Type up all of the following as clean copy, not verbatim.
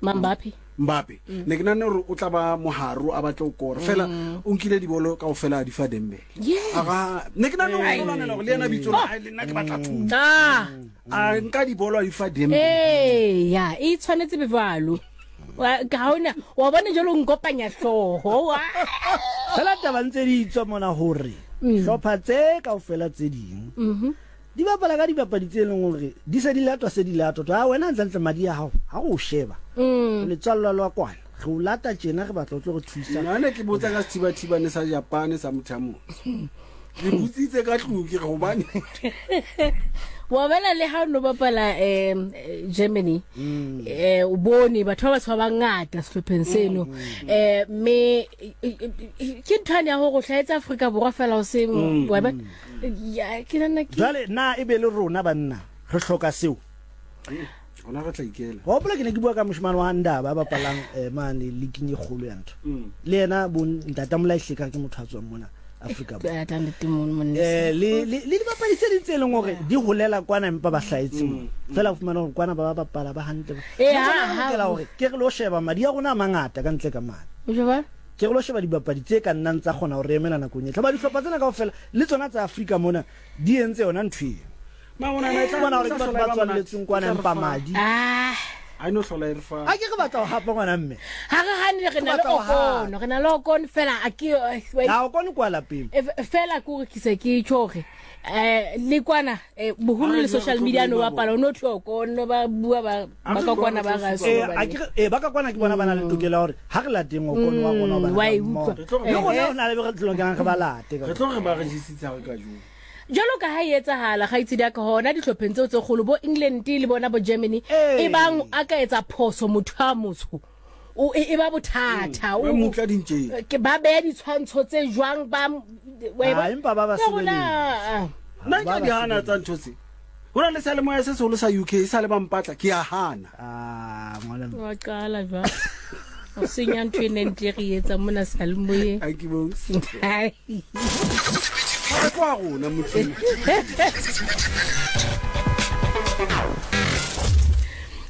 Mbappe. Mbappe. Mm. Ne ke nahane gore o tla ba moharo a batle go kora. Fela mm. o nkile dibolo kaofela a di fa Dembele. Yes. Aga ne ke nahane gore o lwanela gore le yena bitso la hae le nna ke batla thuso. Ah. A nka dibolo a di fa Dembele. Ee, ya, e tshwanetse be jwalo. Ga ona wa bona jalo nkopanya hlooho. Fela taba ntse di tswa mona hore mm. hlopha tse kaofela tse ding. Mhm. Di bapala ka dibapadi tse leng hore di se di latwa se di latwa. To, a wena hantlentle madi a hao, ha re o sheba, o letswallwa lwa kwana, re o lata tjena, re batla o tlo re thusa. Nna ne ke botsa ka sethibathibane sa Japane sa motho a motsho. Ke botsitse ka tlung ke re hobane. Wa bona le ha o no bapala um Germany eh o bone batho ba batsho ba bangata sehlopheng seno eh mme ke nthwane ya gore o hlahetse Afrika Borwa fela o se wa bona. Ya, ke nahana ke Jwale na e be le rona banna re hloka seo? Rona re tla ikela. Wa hopola ke ne ke bua ka moshemane wa Ndaba a bapalang eh, mane leaking e kgolo ya ntho. Mm. Le yena bo Ntata Molaihle ka ke motho a tswang mona Afrika Borwa. Ya tla nnete mono monna. Eh, le le le dibapadi tse ding tse leng hore di holela kwana empa ba hlahetse mo. Fela o fumana hore kwana ba ba bapala ba hantle. Eh, Le ha- rona re ha- lokela hore ke re lo sheba madi a rona a mangata ka ntle ka mane. O jwang? Ke re lo sheba dibapadi tse ka nnang tsa kgona ho re emela nakong e tla. Hoba dihlopha tsena kaofela, le tsona tsa Afrika mona, di entse yona ntho eo. Mara o nahana e tla Bona hore e ke tla batho hlola ba e ba monate? tswalletsweng kwana E tla re empa fa- madi. Ah. Ha e no hlola e re fa. A ke re batla ho hapa ngwana mme. Ha re hane re na le batla ho hapa. Okon, re na le Okon fela a ke Ha Okon kwa lapeng. Fela ke hore ke se ke tjho hore eh le kwana eh, boholo le social media no bapala o no tlhoko no ba bua ba ba ka kwana ba ga eh a ke eh ba ka kwana ke bona ba na le tokelo ya hore ha re lateng o kono wa rona ba wa e utlwa le rona o na le re tlokang re ba late re tlo re ba re jesitse ha re ka jo jalo ka ha e etsahala gaitsedi ya ka hona dihlopheng tseo tse kgolo bo England le bona bo Germany e bang a ka etsa phoso motho a motsho o e, e ba bothata mm. ba mutla dintjeng ke ba beya ditshwantsho tse jwang ba ah, empa ba ba sebeletsa nna ke di hana tsa ntho tse ho na le seyalemoya se seholo sa UK e sa le ba mpatla ke a hana ah, wa qala jwa o senya ntho e neng tle re etsa mona seyalemoyeng a ke bo kwa rona motho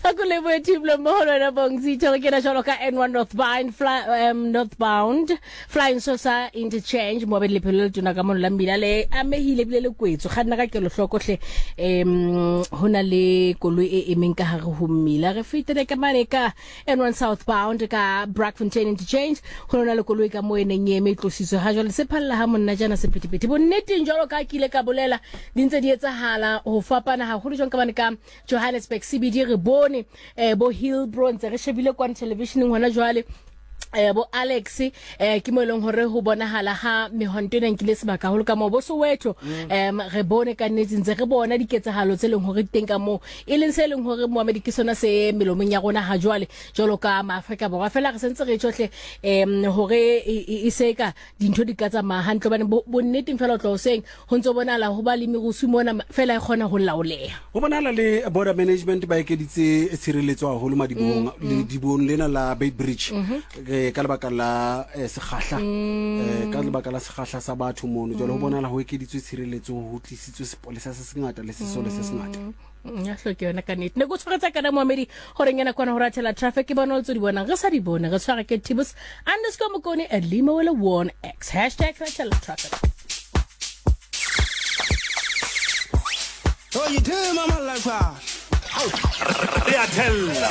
A ko lebohe team le mmoho le wena Bongzitho re kena jwalo ka N1 northbound fly, northbound flying saucer interchange mo abedi lephelo le letona ka mono la mmila le amehile ebile le kwetswe kganna ka kelohloko hle ho na le koloi e emeng ka hare ho mmila re fetele ka mane ka N1 southbound ka Brakfontein interchange ho na le koloi ka mo e neng e eme e tlositswe ha jwale se phalla ha monna jana sephethephethe bonneteng jwalo ka ke ile ka bolela di ntse di etsahala ho fapana haholo jwang ka mane ka Johannesburg CBD re bone eh, bo Hillbrow ntse re shebile kwane televisioneng hona jwale eh bo Alex eh ke mo e leng hore ho bonahala ha mehwanto ena nkile sebaka haholo ka moo bo Soweto em re bone ka nnete ntse re bona diketsahalo tse leng hore teng ka moo e leng se leng hore Mohammed ke sona se melomong ya rona ha jwale jwalo ka Maafrika Borwa fela re sentse re tjohle em hore e se ka dintho di ka tsamaya hantle hobane bonneteng fela o tloha hoseng ho ntse ho bonahala ho ba le merusu mona fela e kgona ho laoleha. Ho bonahala le border management ba ekeditse tshireletso haholo madibohong ledibong lena la Beitbridge ka lebaka la sekgahla ka lebaka la sekgahla sa batho mono jwale ho bonahala ho ekeditswe tshireletso ho tlisitswe sepolesa se sengata le sesole se sengata. Ya hloke yona ka nnete ne ko tshwaretsa kana moamedi gore ngena kwana go rathela traffic ke bona o tse di bonang re sa di bone re tshwara ke tibus underscore mokone at lima wele 1 x hashtag rathela traffic. Re a thella.